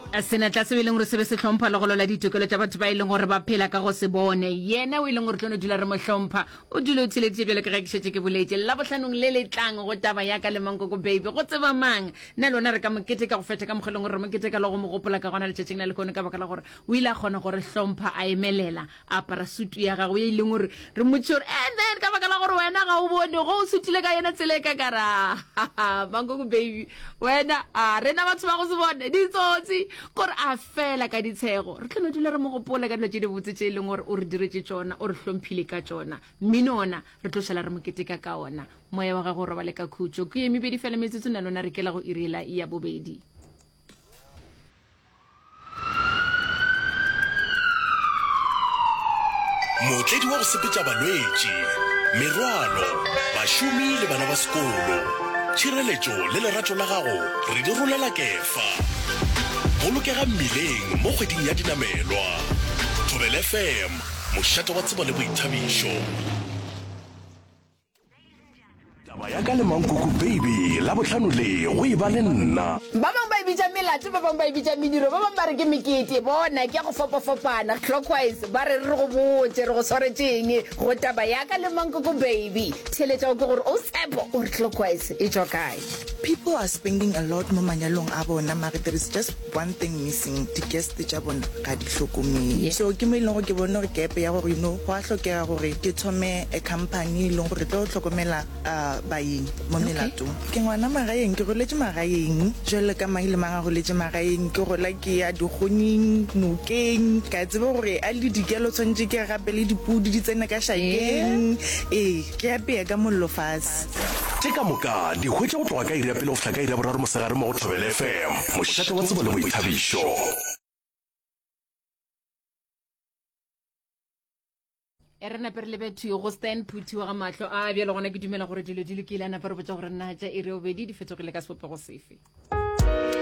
Senatla seo e leng gore se be se hlompha le go lwela ditokelo tša batho ba e leng gore ba phela ka go se bone. Yena o e leng gore tlo no dula re mo hlompha. O dule o theleditše bjalo ka ge ke šetše ke boletše. Labohlanong le le tlang go taba ya ka le Mankoko Baby. Go tseba mang? Nna le wena re ka mo keteka go feta ka mokgwa e leng gore re mo keteka le go mo gopola ka gona letšatšing la lehono ka baka la gore o ile a kgona go re hlompha a emelela a apara sutu ya gagwe ye e leng gore re mmotšiše gore and then ka baka la gore wena ga o bone go o sutile ka yona tsela e ka kara mankoko baby wena a rena batho ba go se bone ditsotsi kore a fela ka ditshego re tlo no dula re mo gopola ka dilo tše dibotse tše e leng gore o re diretše tšona o re hlomphile ka tšona mmino ona re tlo šala re mo keteka ka ona moya wa gago o robale ka khutšo ke ye mebedi fela metsotso na lona re kela go iriela ya bobedi Mootledi wa go sepetša balwetši, merwalo, bašomi le bana ba sekolo. Tšhireletšo le lerato la gago re di rolela kefa. Bolokega mmileng mo kgweding ya dinamelwa. Thobela FM, mošate wa tsebo le boithabišo. Taba ya ka le Mankoko Baby, Labohlano le go e ba le nna. Ba bangwe ba e bitša melato, ba bangwe ba e bitša mediro, ba bangwe ba re ke mekete. Bona, ke ya go fapafapana. Clockwise, ba re re go botše re go swaretše eng go taba ya ka le Mankoko Baby. Theeletša o kwe gore o Tshepo o re Clockwise e tšwa kae. People are spending a lot mo manyalong a bona mare there is just one thing missing, di guest tša bona ga di hlokomele. So ke mo e leng gore ke bone gore gap ya gore you know go a hlokega gore ke thome a company e leng gore e tlo hlokomela baeng mo melatong. Ke ngwana magaeng, ke goletše magaeng jwalo ka mang le mang a goletše magaeng. Ke gola ke ya dikgonyeng, nokeng, ka tseba gore a le dikelo tshwanetše ke gape le dipudi di tsene ka šakeng. Ee, ke apea ka mollo fase. Tše ka moka di hwetše go tloga ka iri ya pele go fihla ka iri ya boraro mosegare mo go Thobela FM, mošate wa tsebo le boithabišo. E re nape re lebe thwi go Stan Phuthi wa ga mahlo a bjalo gona ke dumela gore dilo di lokile a napa re botša gore na tša iri ya bobedi di fetogile ka sebopego sefe.